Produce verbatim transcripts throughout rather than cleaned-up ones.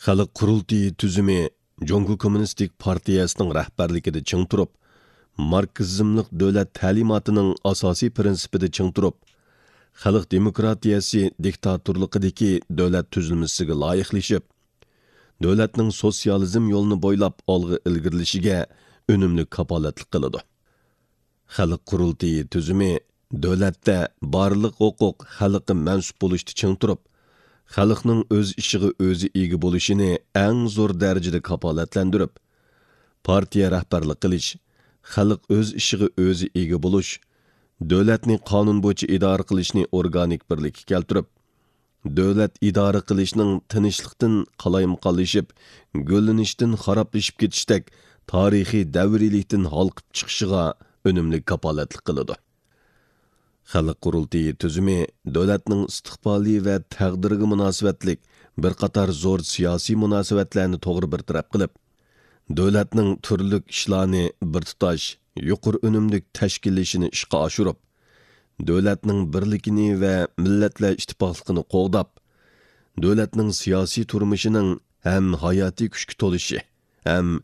خەلق قۇرۇلتىيى تۈزۈمى جۇڭگو كوممۇنىستىك پارتىيەسىنىڭ رەھبەرلىكىدە چىڭ تۇرۇپ، ماركسىزملىق دۆلەت تەلىماتىنىڭ ئاساسىي پىرىنسىپىدا چىڭ تۇرۇپ، خەلق دېموكراتىيەسى دىكتاتورلۇقىدىكى دۆلەت تۈزۈلمىسىگە لايىقلىشىپ، دۆلەتنىڭ سوتسىيالىزم يولىنى بويلاپ ئالغا ئىلگىرىلىشىگە ئۈنۈملۈك كاپالەتلىك قىلىدۇ. خەلق قۇرۇلتىيى تۈزۈمى دۆلەتتە بارلىق ھوقۇق خەلققە مەنسۇپ بولۇشتا چىڭ تۇرۇپ، خەلقنىڭ ئۆز ئىشىغا ئۆزى ئىگە بولۇشىنى ئەڭ زور دەرىجىدە كاپالەتلەندۈرۈپ، پارتىيە رەھبەرلىك قىلىش، خەلق ئۆز ئىشىغا ئۆزى ئىگە بولۇش، دۆلەتنى قانۇن بويىچە ئىدارە قىلىشنى ئورگانىك بىرلىككە كەلتۈرۈپ، دۆلەت ئىدارە قىلىشنىڭ تىنچلىقتىن قالايمىقانلىشىپ، گۈللىنىشتىن خارابلىشىپ كېتىشتەك تارىخىي دەۋرىيلىكتىن ھالقىپ چىقىشىغا ئۈنۈملۈك كاپالەتلىك قىلىدۇ. خەلق قۇرۇلتىيى تۈزۈمى دۆلەتنىڭ ئىستىقبالى ۋە تەقدىرىگە مۇناسىۋەتلىك بىر قاتار زور سىياسىي مۇناسىۋەتلەرنى توغرا بىر تەرەپ قىلىپ، دۆلەتنىڭ تۈرلۈك ئىشلارنى بىر تۇتاش، يۇقىرى ئۈنۈملۈك تەشكىللىشىنى ئىشقا ئاشۇرۇپ، دۆلەتنىڭ بىرلىكىنى ۋە مىللەتلەر ئىتتىپاقلىقىنى قوغداپ، دۆلەتنىڭ سىياسىي تۇرمۇشىنىڭ ھەم ھاياتىي كۈچكە تولۇشى، ھەم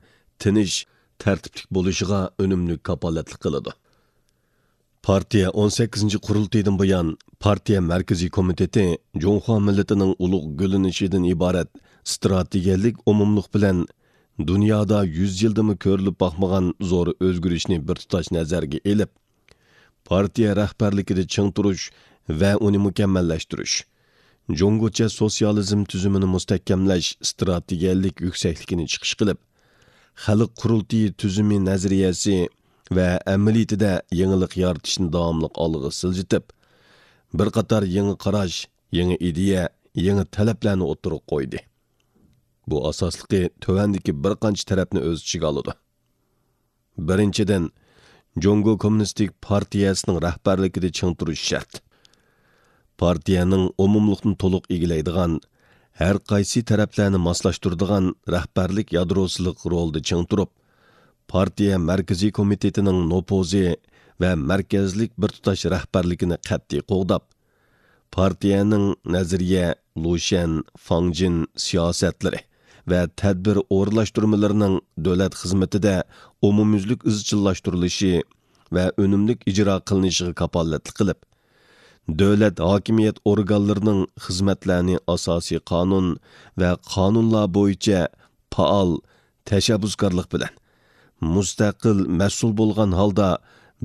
تىنچ، تەرتىپلىك بولۇشىغا ئۈنۈملۈك كاپالەتلىك قىلىدۇ. پارتىيە ئون سەككىزىنچى قۇرۇلتىيىدىن بۇيان، پارتىيە مەركىزىي كومىتېتى جۇڭخۇا مىللىتىنىڭ ئۇلۇغ گۈللىنىشىدىن ئىبارەت ئىستراتېگىيەلىك ئومۇملۇق بىلەن دۇنيادا يۈز يىلدىمۇ كۆرۈلۈپ باقمىغان زور ئۆزگىرىشنى بىر تۇتاش نەزەرگە ئېلىپ، پارتىيە رەھبەرلىكىدە چىڭ تۇرۇش ۋە ئۇنى مۇكەممەللەشتۈرۈش، جۇڭگوچە سوتسىيالىزم تۈزۈمىنى مۇستەھكەملەش ئىستراتېگىيەلىك يۈكسەكلىكىنى چىقىش قىلىپ، خەلق قۇرۇلتىيى تۈزۈمى نەزەرىيەسى ۋە ئەمەلىيىتىدە يېڭىلىق يارىتىشنى داۋاملىق ئالغا سىلجىتىپ، بىر قاتار يېڭى قاراش، يېڭى ئىدىيە، يېڭى تەلەپلەرنى ئوتتۇرىغا قويدى. بۇ ئاساسلىقى تۆۋەندىكى بىر قانچە تەرەپنى ئۆز ئىچىگە ئالىدۇ. بىرىنچىدىن، جۇڭگو كوممۇنىستىك پارتىيەسىنىڭ رەھبەرلىكىدە چىڭ تۇرۇش شەرت. پارتىيەنىڭ ئومۇملۇقنى تولۇق ئىگىلەيدىغان، ھەر قايسى تەرەپلەرنى ماسلاشتۇرىدىغان رەھبەرلىك يادروسىلىق رولىدا چىڭ تۇرۇپ، پارتىيە مەركىزىي كومىتېتىنىڭ نوپۇزى ۋە مەركەزلىك بىر تۇتاش رەھبەرلىكىنى قەتئىي قوغداپ، پارتىيەنىڭ نەزەرىيە، لۇشيەن، فاڭجىن سىياسەتلىرى ۋە تەدبىر ئورۇنلاشتۇرمىلىرىنىڭ دۆلەت خىزمىتىدە ئومۇميۈزلۈك ئىزچىللاشتۇرۇلۇشى ۋە ئۈنۈملۈك ئىجرا قىلىنىشىغا كاپالەتلىك قىلىپ، دۆلەت ھاكىمىيەت ئورگانلىرىنىڭ خىزمەتلەرنى ئاساسىي قانۇن ۋە قانۇنلار بويىچە پائال، تەشەببۇسكارلىق بىلەن، مۇستەقىل، مەسئۇل بولغان ھالدا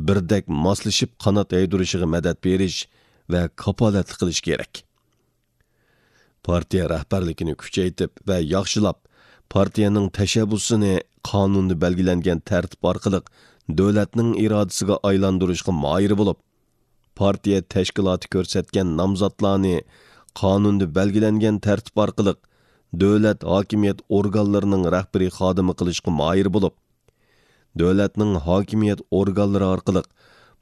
بىردەك ماسلىشىپ قانات يايدۇرۇشىغا مەدەت بېرىش ۋە كاپالەتلىك قىلىش كېرەك. پارتىيە رەھبەرلىكىنى كۈچەيتىپ ۋە ياخشىلاپ، پارتىيەنىڭ تەشەببۇسىنى قانۇندا بەلگىلەنگەن تەرتىپ ئارقىلىق دۆلەتنىڭ ئىرادىسىگە ئايلاندۇرۇشقا ماھىر بولۇپ، پارتىيە تەشكىلاتى كۆرسەتكەن نامزاتلارنى قانۇندا بەلگىلەنگەن تەرتىپ ئارقىلىق دۆلەت ھاكىمىيەت ئورگانلىرىنىڭ رەھبىرىي خادىمى قىلىشقا ماھىر بولۇپ، دۆلەتنىڭ ھاكىمىيەت ئورگانلىرى ئارقىلىق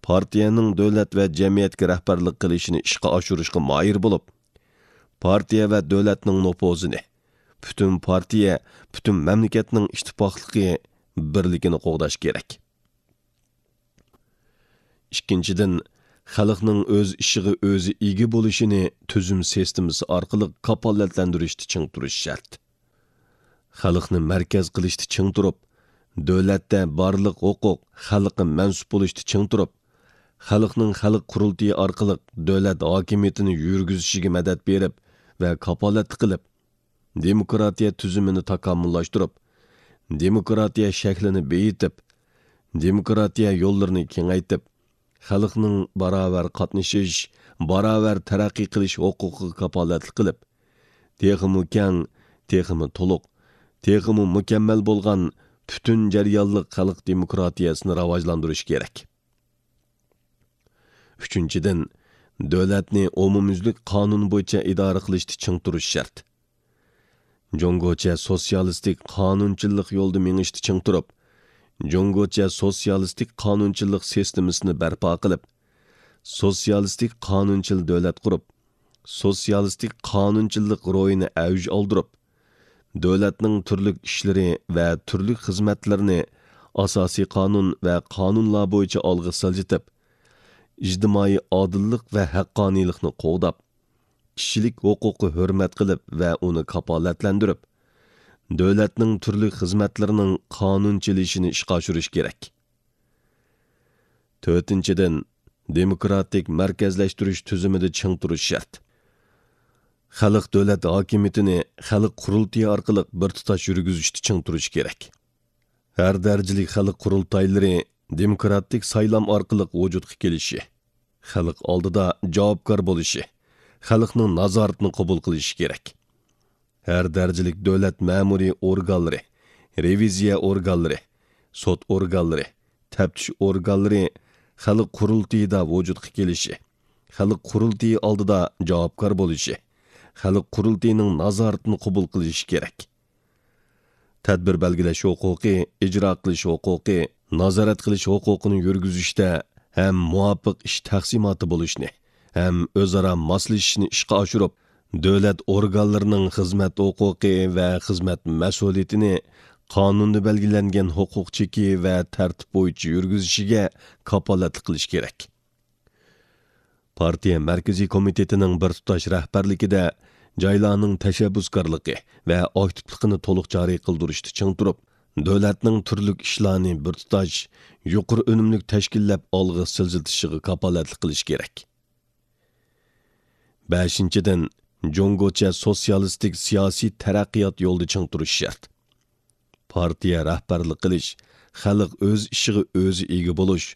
پارتىيەنىڭ دۆلەت ۋە جەمئىيەتكە رەھبەرلىك قىلىشىنى ئىشقا ئاشۇرۇشقا ماھىر بولۇپ، پارتىيە ۋە دۆلەتنىڭ نوپۇزىنى، پۈتۈن پارتىيە، پۈتۈن مەملىكەتنىڭ ئىتتىپاقلىقى، بىرلىكىنى قوغداش كېرەك. ئىككىنچىدىن، خەلقنىڭ ئۆز ئىشىغا ئۆزى ئىگە بولۇشىنى تۈزۈم سىستېمىسى ئارقىلىق كاپالەتلەندۈرۈشتە چىڭ تۇرۇش شەرت. خەلقنى مەركەز قىلىشتا چىڭ تۇرۇپ، دۆلەتتە بارلىق ھوقۇق خەلققە مەنسۇپ بولۇشتا چىڭ تۇرۇپ، خەلقنىڭ خەلق قۇرۇلتىيى ئارقىلىق دۆلەت ھاكىمىيىتىنى يۈرگۈزۈشىگە مەدەت بېرىپ ۋە كاپالەتلىك قىلىپ، دېموكراتىيە تۈزۈمىنى تاكامۇللاشتۇرۇپ، دېموكراتىيە شەكلىنى بېيىتىپ، دېموكراتىيە يوللىرىنى كېڭەيتىپ، خەلقنىڭ باراۋەر قاتنىشىش، باراۋەر تەرەققىي قىلىش ھوقۇقىغا كاپالەتلىك قىلىپ، تېخىمۇ كەڭ، تېخىمۇ تولۇق، تېخىمۇ مۇكەممەل بولغان پۈتۈن جەريانلىق خەلق دېموكراتىيەسىنى راۋاجلاندۇرۇش كېرەك. ئۈچىنچىدىن، دۆلەتنى ئومۇميۈزلۈك قانۇن بويىچە ئىدارە قىلىشتا چىڭ تۇرۇش شەرت. جۇڭگوچە سوتسىيالىستىك قانۇنچىللىق يولىدا مېڭىشتا چىڭ تۇرۇپ، جۇڭگوچە سوتسىيالىستىك قانۇنچىللىق سىستېمىسىنى بەرپا قىلىپ، سوتسىيالىستىك قانۇنچىل دۆلەت قۇرۇپ، سوتسىيالىستىك قانۇنچىللىق روھىنى ئەۋج ئالدۇرۇپ، دۆلەتنىڭ تۈرلۈك ئىشلىرى ۋە تۈرلۈك خىزمەتلىرىنى ئاساسىي قانۇن ۋە قانۇنلار بويىچە ئالغا سىلجىتىپ، ئىجتىمائىي ئادىللىق ۋە ھەققانىيلىقنى قوغداپ، كىشىلىك ھوقۇققا ھۆرمەت قىلىپ ۋە ئۇنى كاپالەتلەندۈرۈپ، دۆلەتنىڭ تۈرلۈك خىزمەتلىرىنىڭ قانۇن چېلىشىنى ئىشقا ئاشۇرۇش كېرەك. تۆتىنچىدىن، دېموكراتىك مەركەزلەشتۈرۈش تۈزۈمىدە چىڭ تۇرۇش شەرت. خەلق دۆلەت ھاكىمىيىتىنى خەلق قۇرۇلتىيى ئارقىلىق بىر تۇتاش يۈرگۈزۈشتە چىڭ تۇرۇش كېرەك. ھەر دەرىجىلىك خەلق قۇرۇلتايلىرى دېموكراتىك سايلام ئارقىلىق ۋۇجۇدقا كېلىشى، خەلق ئالدىدا جاۋابكار بولۇشى، خەلقنىڭ نازارىتىنى قوبۇل قىلىشى كېرەك. ھەر دەرىجىلىك دۆلەت مەمۇرىي ئورگانلىرى، رېۋىزىيە ئورگانلىرى، سوت ئورگانلىرى، تەپتىش ئورگانلىرى خەلق قۇرۇلتىيىدا ۋۇجۇدقا كېلىشى، خەلق قۇرۇلتىيى ئالدىدا جاۋابكار بولۇشى، خەلق قۇرۇلتىيىنىڭ نازارىتىنى قوبۇل قىلىشى كېرەك. تەدبىر بەلگىلەش ھوقۇقى، ئىجرا قىلىش ھوقۇقى، نازارەت قىلىش ھوقۇقىنى يۈرگۈزۈشتە ھەم مۇۋاپىق ئىش تەقسىماتى بولۇشنى، ھەم ئۆزئارا ماسلىشىشنى ئىشقا ئاشۇرۇپ، دۆلەت ئورگانلىرىنىڭ خىزمەت ھوقۇقى ۋە خىزمەت مەسئۇلىيىتىنى قانۇندا بەلگىلەنگەن ھوقۇق چېكى ۋە تەرتىپ بويىچە يۈرگۈزۈشىگە كاپالەتلىك قىلىش كېرەك. پارتىيە مەركىزىي كومىتېتىنىڭ بىر تۇتاش رەھبەرلىكىدە جايلارنىڭ تەشەببۇسكارلىقى ۋە ئاكتىپلىقىنى تولۇق جارى قىلدۇرۇشتا چىڭ تۇرۇپ، دۆلەتنىڭ تۈرلۈك ئىشلارنى بىر تۇتاش، يۇقىرى ئۈنۈملۈك تەشكىللەپ ئالغا سىلجىتىشىغا كاپالەتلىك قىلىش كېرەك. بەشىنچىدىن، جۇڭگوچە سوتسىيالىستىك سىياسىي تەرەققىيات يولىدا چىڭ تۇرۇش شەرت. پارتىيە رەھبەرلىك قىلىش، خەلق ئۆز ئىشىغا ئۆزى ئىگە بولۇش،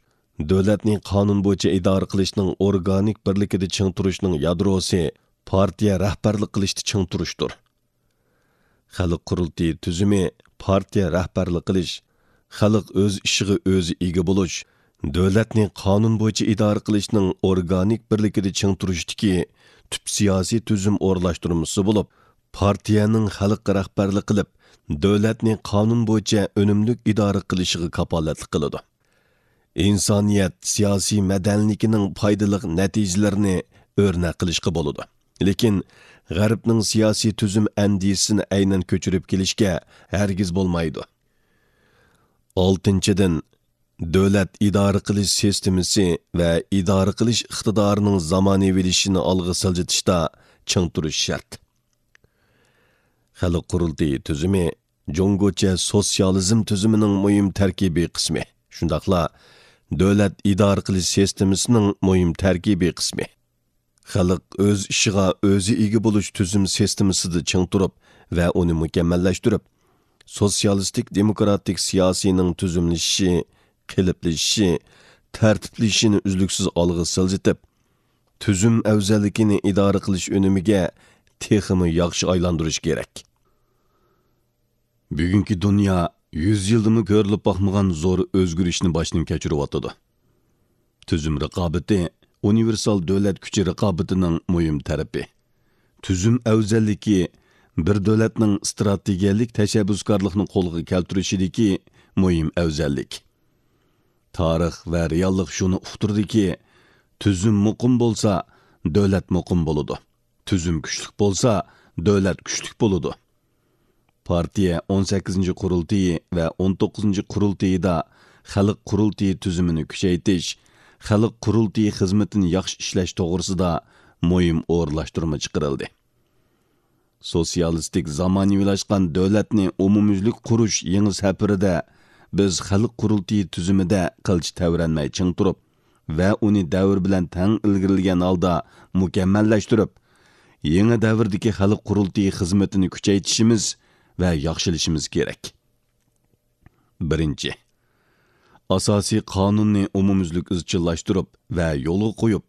دۆلەتنى قانۇن بويىچە ئىدارە قىلىشنىڭ ئورگانىك بىرلىكىدە چىڭ تۇرۇشنىڭ يادروسى پارتىيە رەھبەرلىك قىلىشتا چىڭ تۇرۇشتۇر. خەلق قۇرۇلتىيى تۈزۈمى پارتىيە رەھبەرلىك قىلىش، خەلق ئۆز ئىشىغا ئۆزى ئىگە بولۇش، دۆلەتنى قانۇن بويىچە ئىدارە قىلىشنىڭ ئورگانىك بىرلىكىدە چىڭ تۇرۇشتىكى تۈپ سىياسىي تۈزۈم ئورۇنلاشتۇرمىسى بولۇپ، پارتىيەنىڭ خەلققە رەھبەرلىك قىلىپ، دۆلەتنى قانۇن بويىچە ئۈنۈملۈك ئىدارە قىلىشىغا كاپالەتلىك قىلىدۇ. ئىنسانىيەت سىياسىي مەدەنىيلىكىنىڭ پايدىلىق نەتىجىلىرىنى ئۆرنەك قىلىشقا بولىدۇ. لېكىن غەربنىڭ سىياسىي تۈزۈم ئەندىزىسىنى ئەينەن كۆچۈرۈپ كېلىشكە ھەرگىز بولمايدۇ. ئالتىنچىدىن، دۆلەت ئىدارە قىلىش سىستېمىسى ۋە ئىدارە قىلىش ئىقتىدارىنىڭ زامانىۋىلىشىشىنى ئالغا سىلجىتىشتا چىڭ تۇرۇش شەرت. خەلق قۇرۇلتىيى تۈزۈمى جۇڭگوچە سوتسىيالىزم تۈزۈمىنىڭ مۇھىم تەركىبىي قىسمى، شۇنداقلا دۆلەت ئىدارە قىلىش سىستېمىسىنىڭ مۇھىم تەركىبىي قىسمى. خەلق ئۆز ئىشىغا ئۆزى ئىگە بولۇش تۈزۈم سىستېمىسىدا چىڭ تۇرۇپ ۋە ئۇنى مۇكەممەللەشتۈرۈپ، سوتسىيالىستىك دېموكراتىك سىياسىينىڭ تۈزۈملىشىشى، قېلىپلىشىشى، تەرتىپلىشىشىنى ئۈزلۈكسىز ئالغا سىلجىتىپ، تۈزۈم ئەۋزەللىكىنى ئىدارە قىلىش ئۈنۈمىگە تېخىمۇ ياخشى ئايلاندۇرۇش كېرەك. بۈگۈنكى دۇنيا يۈز يىلدىمۇ كۆرۈلۈپ باقمىغان زور ئۆزگىرىشنى باشتىن كەچۈرۈۋاتىدۇ. تۈزۈم رىقابىتى ئۇنىۋېرسال دۆلەت كۈچى رىقابىتىنىڭ مۇھىم تەرىپى. تۈزۈم ئەۋزەللىكى بىر دۆلەتنىڭ ئىستراتېگىيەلىك تەشەببۇسكارلىقنى قولغا كەلتۈرۈشىدىكى مۇھىم ئەۋزەللىك. تارىخ ۋە رېئاللىق شۇنى ئۇقتۇردىكى، تۈزۈم مۇقىم بولسا، دۆلەت مۇقىم بولىدۇ. تۈزۈم كۈچلۈك بولسا، دۆلەت كۈچلۈك بولىدۇ. پارتىيە ئون سەككىزىنچى قۇرۇلتىيى ۋە ئون توققۇزىنچى قۇرۇلتىيىدا خەلق قۇرۇلتىيى تۈزۈمىنى كۈچەيتىش، خەلق قۇرۇلتىيى خىزمىتىنى ياخشى ئىشلەش توغرىسىدا مۇھىم ئورۇنلاشتۇرما چىقىرىلدى. سوتسىيالىستىك زامانىۋىلاشقان دۆلەتنى ئومۇميۈزلۈك قۇرۇش يېڭى سەپىرىدە بىز خەلق قۇرۇلتىيى تۈزۈمىدە قىلچە تەۋرەنمەي چىڭ تۇرۇپ ۋە ئۇنى دەۋر بىلەن تەڭ ئىلگىرىلىگەن ھالدا مۇكەممەللەشتۈرۈپ، يېڭى دەۋردىكى خەلق قۇرۇلتىيى خىزمىتىنى كۈچەيتىشىمىز ۋە ياخشىلىشىمىز كېرەك. بىرىنچى، ئاساسىي قانۇننى ئومۇميۈزلۈك ئىزچىللاشتۇرۇپ ۋە يولغا قويۇپ،